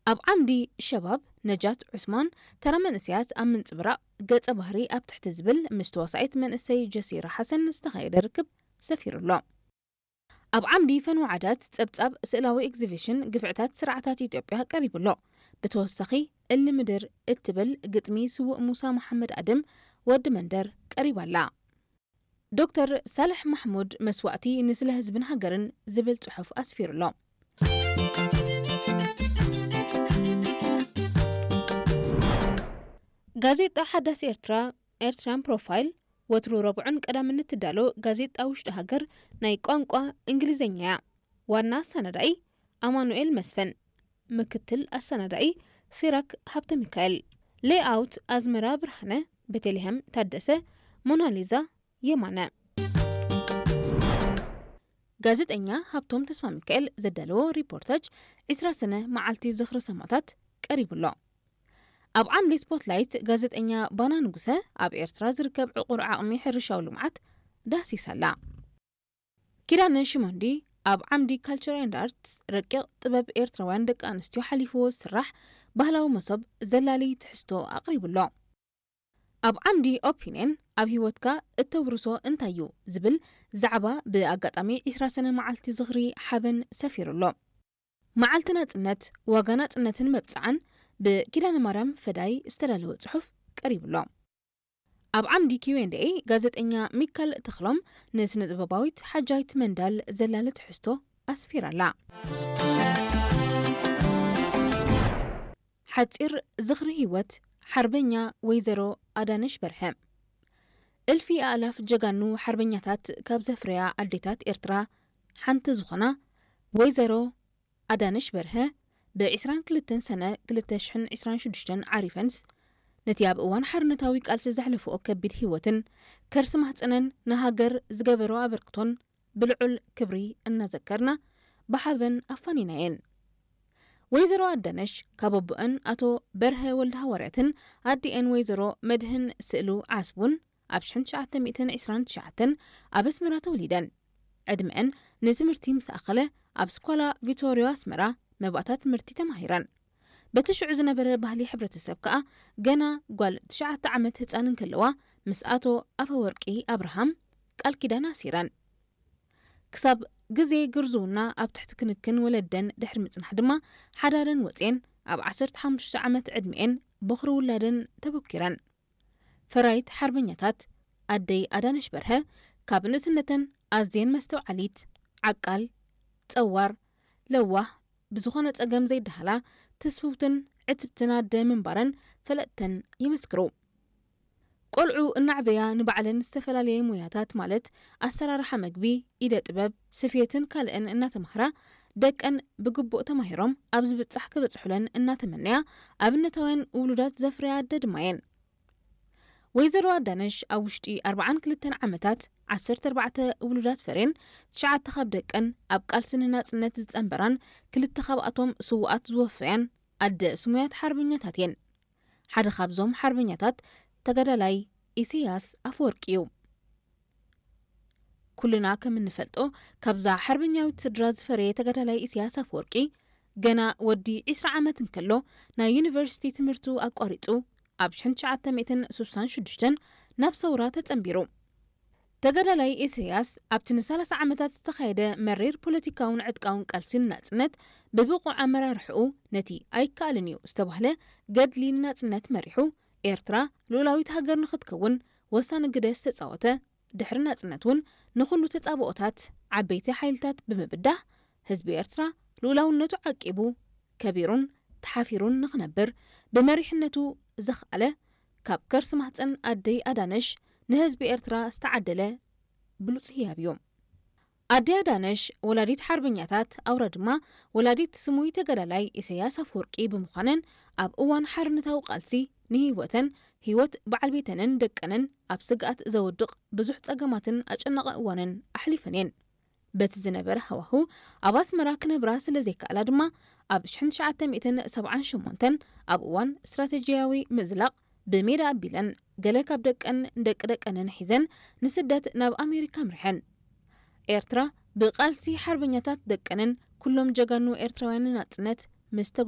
ኣብ ዓምዲ ሸባብ ነጃት ዑስማን፣ ተራ መንእሰያት ኣብ ምንጽብራቕ ገጸ ባህሪ ኣብ ትሕቲ ዝብል ምስ ተዋሳኢት መንእሰይ ጀሲራ ሓሰን ዝተኻየደ ርክብ ሰፊሩ ኣሎ። ኣብ ዓምዲ ፈንው ዓዳት ጸብጻብ ስእላዊ ኤግዚቢሽን ግፍዕታት ስርዓታት ኢትዮጵያ ቀሪቡ ኣሎ። ብተወሳኺ እሊ ምድር እትብል ግጥሚ ስዉእ ሙሳ መሓመድ ኣድም ወዲ መንደር ቀሪባ ኣላ። ዶክተር ሳልሕ ማሕሙድ መስዋእቲ ንስለ ህዝብን ሃገርን ዝብል ጽሑፍ ኣስፊሩ ኣሎ። ጋዜጣ ሓዳስ ኤርትራ፣ ኤርትራን ፕሮፋይል፣ ወትሩ ረቡዕን ቀዳምን እትዳሎ ጋዜጣ ውሽጢ ሃገር ናይ ቋንቋ እንግሊዝኛ እያ። ዋና ኣሰናዳኢ ኣማኑኤል መስፍን፣ ምክትል ኣሰናዳኢ ሲራክ ሃብተ ሚካኤል፣ ሌይኣውት ኣዝመራ ብርሃነ፣ ቤተልሔም ታደሰ፣ ሞናሊዛ የማነ። ጋዜጠኛ ሃብቶም ተስፋ ሚካኤል ዘዳለዎ ሪፖርታጅ ዒስራ ሰነ መዓልቲ ዝኽሪ ሰማእታት ቀሪቡ ኣሎ። ኣብ ዓምዲ ስፖትላይት ጋዜጠኛ ባና ንጉሰ ኣብ ኤርትራ ዝርከብ ዕቑር ዓቕሚ ሕርሻዊ ልምዓት ዳህሲሳ ኣላ። ኪዳነ ሽሞንዲ ኣብ ዓምዲ ካልቸር ኤንድ ኣርትስ ረቂቕ ጥበብ ኤርትራውያን ደቂ ኣንስትዮ ሓሊፍዎ ዝስራሕ ባህላዊ መሶብ ዘላሊ ትሕዝቶ ኣቕሪቡ ኣሎ። ኣብ ዓምዲ ኦፒንየን ኣብ ህይወትካ እተውርሶ እንታይ እዩ ዝብል ዛዕባ ብኣጋጣሚ ዒስራ ሰነ መዓልቲ ዝኽሪ ሓበን ሰፊሩ ኣሎ። መዓልቲ ናጽነት፣ ዋጋ ናጽነትን መብጽዓን ብኪዳነ ማርያም ፈዳይ ዝተዳለወ ጽሑፍ ቀሪቡ ኣሎ። ኣብ ዓምዲ ኪው ኤንድ ኤ ጋዜጠኛ ሚካል ተኽሎም ንስነ ጥበባዊት ሓጃይት መንዳል ዘላለ ትሕዝቶ ኣስፊራ ኣላ። ሓጺር ዝኽሪ ህይወት ሓርበኛ ወይዘሮ ኣዳነሽ በርሀ። እልፊ ኣእላፍ ጀጋኑ ሓርበኛታት ካብ ዘፍረያ ኣዴታት ኤርትራ ሓንቲ ዝኾና ወይዘሮ ኣዳነሽ በርሀ ብ ዒስራን ክልተን ሰነ ክልተ ሽሕን ዒስራን ሽዱሽተን ዓሪፈንስ፣ ነቲ ኣብ እዋን ሓርነታዊ ቃልሲ ዘሕለፈኦ ከቢድ ህይወትን ከርሲ ማህጸነን ንሃገር ዝገበሮ ኣበርክቶን ብልዑል ክብሪ እናዘከርና ብሓበን ኣፋኒናየን። ወይዘሮ ኣዳነሽ ካብ ኣቦአን ኣቶ በርሀ ወልደ ሃዋርያትን ኣዲኤን ወይዘሮ መድህን ስእሉ ዓስቡን ኣብ ሽሕን ትሽዓተ ሚእትን ዒስራን ትሽዓተን ኣብ ኣስመራ ተወሊደን። ዕድመአን ንትምህርቲ ምስ ኣኸለ ኣብ ስኳላ ቪቶርዮ ኣስመራ መባእታ ትምህርቲ ተማሂረን። በቲ ሽዑ ዝነበረ ባህሊ ሕብረተሰብ ከኣ ገና ጓል ትሽዓተ ዓመት ህጻን እንከለዋ ምስ ኣቶ ኣፈወርቂ ኣብርሃም ቃል ኪዳን ኣሲረን። ክሳብ ግዜ ግርዝውና ኣብ ትሕቲ ክንክን ወለደን ድሕሪ ምጽናሕ ድማ ሓዳረን ወጽየን ኣብ ዓሰርተ ሓሙሽተ ዓመት ዕድሚኤን ቦኽሪ ውላደን ተበኪረን። ፈራይት ሓርበኛታት ኣደይ ኣዳነሽ በርሀ ካብ ንእስነተን ኣዝየን መስተውዓሊት፣ ዓቃል፣ ጸዋር፣ ለዋህ፣ ብዝኾነ ጸገም ዘይደሃላ፣ ትስፍውትን ዕትብትን ኣደ ምንባረን ፈለጥተን ይምስክሩ። ቆልዑ እናዕበያ ንባዕለን ዝተፈላለየ ሞያታት ማለት ኣሰራርሓ መግቢ፣ ኢደ ጥበብ፣ ስፌትን ካልእን እናተማህራ ደቀን ብግቡእ ተማሂሮም ኣብ ዝብጻሕ ክበጽሑለን እናተመነያ ኣብነታውያን ውሉዳት ዘፍረያ ኣደ ድማ እየን። ወይዘሮ ኣዳነሽ ኣብ ውሽጢ ኣርብዓን ክልተን ዓመታት ዓሰርተ ኣርባዕተ ውሉዳት ፈርየን፣ ትሽዓተ ካብ ደቀን ኣብ ቃልሲ ንናጽነት ዝጸንበራን ክልተ ካብኣቶም ስዉኣት ዝወፈያን ኣደ ስሙያት ሓርበኛታት እየን። ሓደ ካብዞም ሓርበኛታት ተጋዳላይ ኢሰያስ ኣፈወርቂ እዩ። ኩልና ከም እንፈልጦ፣ ካብዛ ሓርበኛዊት ስድራ ዝፈረየ ተጋዳላይ ኢሰያስ ኣፈወርቂ፣ ገና ወዲ ዒስራ ዓመት እንከሎ ናይ ዩኒቨርሲቲ ትምህርቱ ኣቋሪጹ ኣብ ሽሕን ትሽዓተ ሚእትን ስሳን ሽዱሽተን ናብ ሰውራ ተጸንቢሩ። ተጋዳላይ ኢሰያስ ኣብቲ ንሰላሳ ዓመታት ዝተኻየደ መሪር ፖለቲካውን ዕጥቃውን ቃልሲ ንናጽነት ብብቑዕ ኣመራርሕኡ ነቲ ኣይከኣልን እዩ ዝተባህለ ገድሊ ንናጽነት መሪሑ ኤርትራ ልኡላዊት ሃገር ንኽትከውን ወሳኒ ግደ ዝተጻወተ፣ ድሕሪ ናጽነት እውን ንኹሉ ተጻብኦታት ዓበይቲ ሓይልታት ብምብዳህ ህዝቢ ኤርትራ ልኡላውነቱ ዓቂቡ ከቢሩን ተሓፊሩን ንኽነብር ብመሪሕነቱ ዘኽኣለ፣ ካብ ከርሲ ማህጸን ኣደይ ኣዳነሽ ንህዝቢ ኤርትራ ዝተዓደለ ብሉጽ ህያብ እዩ። ኣደይ ኣዳነሽ ወላዲት ሓርበኛታት ኣውራ ድማ ወላዲት ስሙይ ተጋዳላይ ኢሰያስ ኣፈወርቂ ብምዃነን ኣብ እዋን ሓርነታዊ ቃልሲ ንህይወተን ህይወት በዓል ቤተንን ደቀንን ኣብ ስግኣት ዘውድቕ ብዙሕ ጸገማትን ኣጨናቒ እዋንን ኣሕሊፈን እየን። በቲ ዝነበረ ሃዋህው ኣብ ኣስመራ ክነብራ ስለ ዘይከኣላ ድማ ኣብ ሽሕን ትሽዓተ ሚእትን ሰብዓን ሸሞንተን ኣብ እዋን ስትራተጂያዊ ምዝላቕ ብሜዳ ኣቢለን ገለ ካብ ደቀን ደቂ ደቀንን ሒዘን ንስደት ናብ ኣሜሪካ ኣምሪሐን። ኤርትራ ብቃልሲ ሓርበኛታት ደቀንን ኩሎም ጀጋኑ ኤርትራውያን ንናጽነት ምስ